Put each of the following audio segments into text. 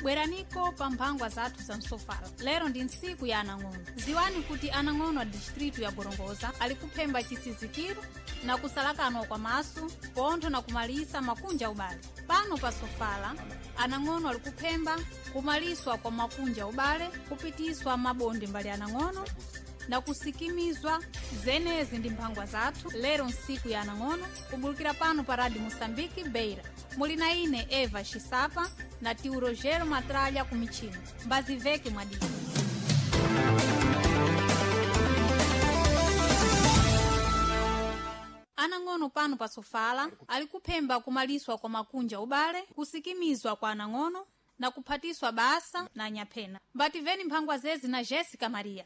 Bweraniko pa mphangwa zathu za msofala. Lero ndi ntsiku ya anang'ono. Ziwani kuti anang'ono a distritu ya Gorongosa ali kuphemba chisizikiro na kusalakanwa kwa maso, pontho na kumalisa makunja ubale. Pano pa sofala anang'ono ali kuphemba kumaliswa kwa makunja ubale, kupitiswa mabonde mbali anang'ono na kusikimizwa. Zenezi ndi mphangwa zathu lero nsiku ya anang'ono, kubulukira pano pa Radio Moçambique Beira. Muli na ine Eva Xisapa na tio Rogero Matralha ku michino. Mbaziveke mwadini. Anang'ono pano pa sofala ali kuphemba kumaliswa kwa makunja ubale, kusikimizwa kwa anang'ono na kuphatiswa basa na anyaphena. Mbativeni mphangwa zezi na Jessica Maria.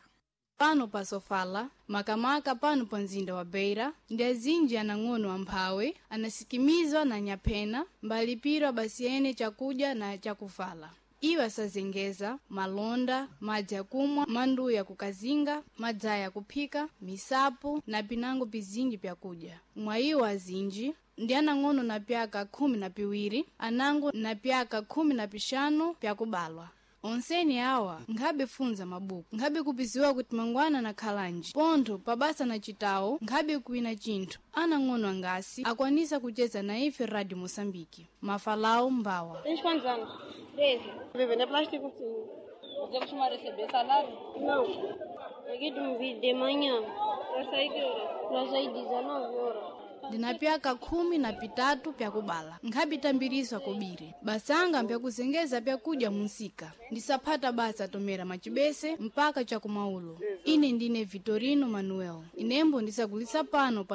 Pano pa sofala, makamaka pano pa mzinda wa Beira, ndi azinji anang'ono amphawi anasikimizwa na nyaphena mbalipirwa basi ene chakudya na chakuvala. Iwo asazengeza malonda, madzi akumwa, manduya akukazinga, madzaya akuphika, misapo na pinango pizinji pyakudya. Mwa iwo azinji ndi anang'ono na pyaka 12, anango na pyaka 15 pyakubalwa. Onseni awa nkhabe funza mabuku, nkhabe kupiziwa kuti mangwana na khalanji, pontho pabasa na citawo nkhabe kuwina chinthu. Anang'ono angasi akwanisa kucheza na ife Radio Moçambique. Mafalawo mbawa. Tens quantos anos? 13. Vender plástico? Sim. Você costuma receber salário? Não. Aqui tu me vi de manhã. Vai sair que hora? Nós saí 19 horas. Ndina pyaka 13 pyakubala, nkhabitambiriswa kobiri. Basanga mpyakuzengeza pyakudya munsika. Ndisaphata basa tomera macibese mpaka chakumaulo. Ine ndine Vitorino Manuel, inembo ndisagulisa pano pa.